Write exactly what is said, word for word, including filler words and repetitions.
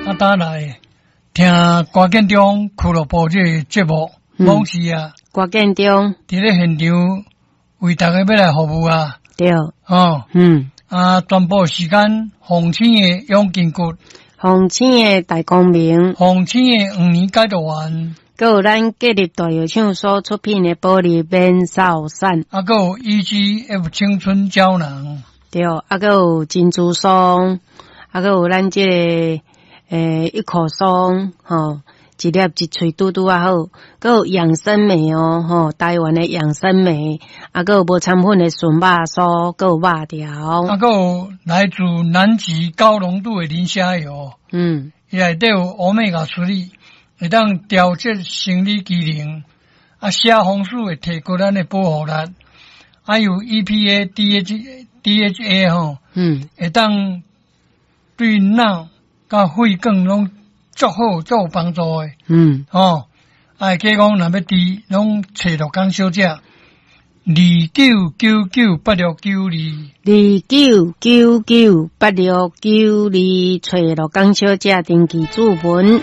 啊，打來聽歌建中俱樂部這个節目，往事啊，歌建中佇咧現場為大家欲來服務啊，對，哦，嗯，啊，全部時間鳳青的養筋骨，鳳青的大光明，鳳青的黃連解毒丸，閣有咱國立大藥廠所出品的保利免瘦散，啊，閣有 E G F 青春膠囊，對，啊，閣有珍珠霜，啊，閣有咱這個欸一口霜，吼，一粒一喙拄拄仔好，閣有養生莓哦，吼，台灣的養生莓，啊，閣有無摻粉的純肉酥，閣有肉條，啊，閣有來自南極高濃度的磷蝦油，嗯，伊內底有歐米伽三，會當調節生理機能，啊，蝦紅素會提高咱的保護力，啊，有 E P A、D H、D H A 吼，嗯，會當對腦佮血管攏足好，足有幫助的，嗯，吼，啊，計講若欲佇，攏揣陸江小姐，二九九九八六九二，二九九九八六九二，揣陸江小姐登記注文。